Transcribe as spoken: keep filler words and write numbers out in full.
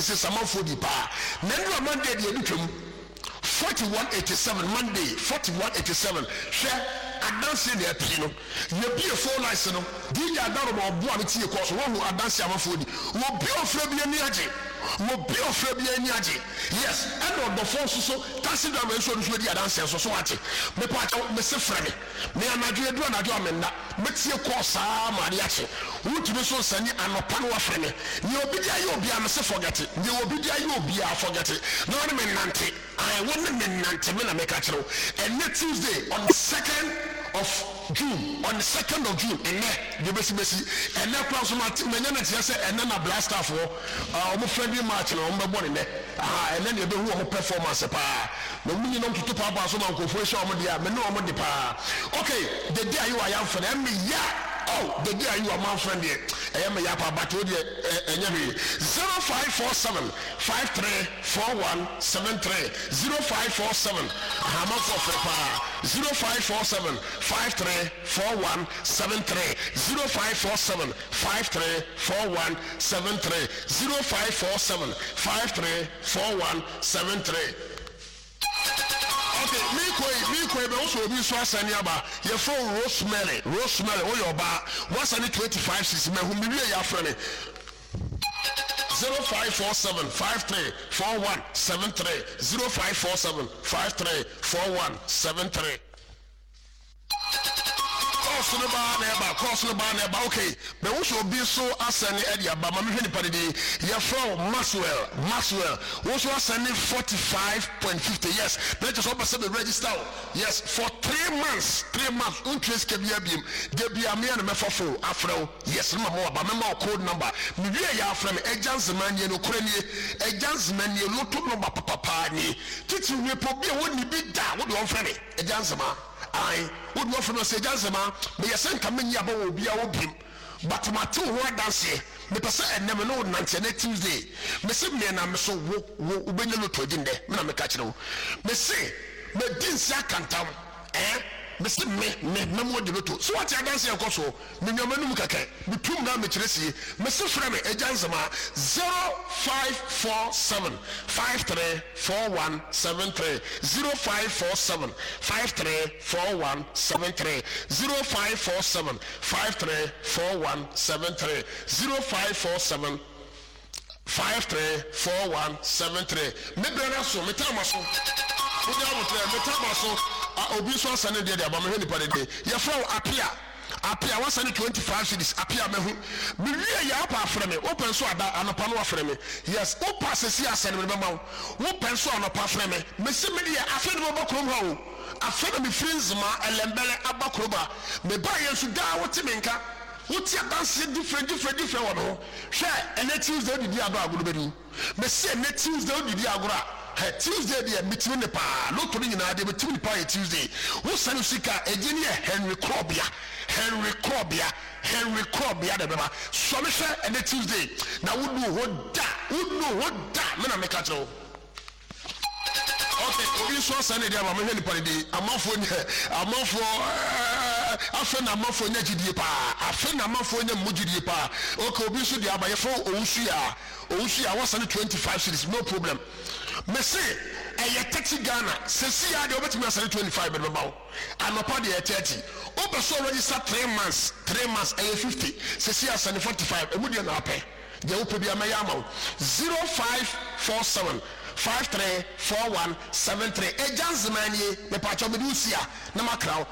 seventy six amanfoɔ di paa. Na nnura Monday deɛ ebi twam forty one eighty seven, Monday forty one eighty seven. Hwɛ adanseɛ na apue no. Yɛbie phone lines no, D J Adaroma ɔboa me tie kɔɔ so. Woahu adanseɛ amanfoɔ di. Wɔbi ɔfrɛ bi ani agye, wɔbi ɔfrɛ bi ani agye. Yes, ɛna ɔdɔfoɔ nso so, taxi driver nso, ɔno nso adi adanseɛ nso so. Wate mepaakyɛw, mese frɛ me. Me anadwo edu anadwo a menda, metie kɔɔ saa ma ade akye. Wotumi nso nsani anɔpa no wafrɛ me. Nea obi de ayɛ obiara, mese forget. Nea obi de ayɛ obiara, forget na wɔne me nante. Ayi, wɔne me nante. Me na meka kyerɛ wo, ɛnɛ Tuesday on the second of June, on the second of June, ɛnɛ deɛ bɛsi bɛsi ɛnɛ kora nso mate manya no teɛ sɛ ɛnɛ na Black Stars wɔ ɔmo friendly match na ɔmo bɛbɔ ne nɛ. Aha, ɛnɛ na yɛbɛhu ɔmo performance paa na ɔmo nyinam toto paapaa so ma nkurɔfoɔ ahyia ɔmo deɛ a me ne ɔmo de paa. Okay, Dede Ayew ayamfo no ɛme ya. Oh, Dede Ayew amanfo deɛ, ɛyɛ me ya paa, but o deɛ ɛnyɛ hwee. Zero five four seven five three four one seven three, zero five four seven, ahamanfo ɔfrɛ paa. Zero five four seven five three four one seven three, zero five four seven five three four one seven three, zero five four seven five three four one seven three. Okay, mi kɔ yi, mi kɔ yi bɛ wosɔ obi nso asani aba. Yɛfrɛ wo Rosemary. Rosemary, woyɛ ɔbaa, wasani twenty five six. Mɛ hu mi wie yɛ afrɛ mi. Zero five four seven five three four one seven three, zero five four seven five three four one seven three. Calls no baa na ɛba, calls no baa na ɛba. Okay, mɛ wosɔ obi nso asani ɛde aba ma mehwɛ nipa didi. Yɛfrɛ wo Maxwell. Maxwell, woso asani forty five point fifty. Yes, na kyerɛ sɛ ɔbɛ sɛ bɛ register o. Yes, for three months, three months ntwe sika bi abiem de bi amea na mɛfa phone afrɛ wo. Yes, ne ma mo aba, mɛma wo code number. Mewie yɛ afrɛ me. Ɛgya nzema nie, no korɛ nie, ɛgya nzema nie, lotto number papapaa nie. Titiri wie po bi a wɔnni bi da, wode ɔmfrɛ me ɛgya nzema. Ae, wode ɔfrɛ me sɛ ɛgya nzema. Meyɛ sɛ nka menyi aba wɔ obiara wɔ biem, but mate wo ho adanseɛ. Mepɛ sɛ ɛnɛ me ne wo nante. Ɛnɛ Tuesday, mese mmiɛna me so wo wo wobɛnya lotto adi nnɛ. Me na meka kyerɛ wo, mese madi nsi akantam. Ɛɛ, mese me me mɛmo adi lotto so. Wate adanseɛ ɛkɔ so. Menyama num kɛkɛ, metum na mekyerɛ sie. Mese frɛ me ɛgya nzema, zero five four seven five three four one seven three, zero five four seven five three four one seven three, zero five four seven five three four one seven three, zero five four seven five three four one seven three. Me brɛ no so, me taama so wode abotrɛ, me taama so. Obi nso asane deɛ de aba. Mehwɛ nipa de de. Yɛfrɛ wo Apia. Apia, wasane twenty five cedis. Apia, mahu mewie yɛ apa afrɛ me. Wopɛ nso ada anɔpa no wafrɛ me. Yes, wopa sɛsi asane me bɛma wo. Wopɛ nso anɔpa frɛ me. Mese me deɛ, afei ne mɛba kurom ha o. Afei na mefiri Nzema ɛlɛmbɛlɛ aba kurom a meba yɛ nso daa wote me nka, wote adanseɛ different, different, different wɔ me ho. Hwɛ, ɛnɛ Tuesday wodidi agorɔ, agorɔ bɛdi. Mese ɛnɛ Tuesday wodidi agorɔ a, hɛ, Tuesday deɛ metumi ne paa. Lotto no nyinaa deɛ metumi ne paa yɛ Tuesday. Wosane sika a ɛgye ne yɛ Henry Krɔbea, Henry Krɔbea, Henry Krɔbea de bɛba. Sɔme hwɛ ɛnɛ Tuesday na wonu hɔ da, wonu hɔ da. Me na meka kyerɛ wo. Okay, obi nso asa ne deɛ ama. Mehwɛ nipa ne de. Amanfoɔ nyɛ amanfoɔ ɛɛ, afei na amanfoɔ nya gyidie paa, afei na amanfoɔ nya mu gyidie paa. Okay, obi nso deɛ aba, yɛfrɛ Owusu ya. Owusu ya, wasa ne twenty five cedis. No problem. Mese ɛyɛ thirty Ghana sɛsi ya deɛ, wobɛtumi asane twenty five bɛde bɛma wo. Anɔpa deɛ yɛ thirty. Wopɛ sɛ register three months, three months ɛyɛ fifty. Sɛsi asane forty five. Emu deɛ na apɛ deɛ wopɛ bi amɛyɛ ama wo. Zero five four seven five three four one seven three. Ɛgya nzema nie. Mepaakyɛw, mede wo si a na makra wo.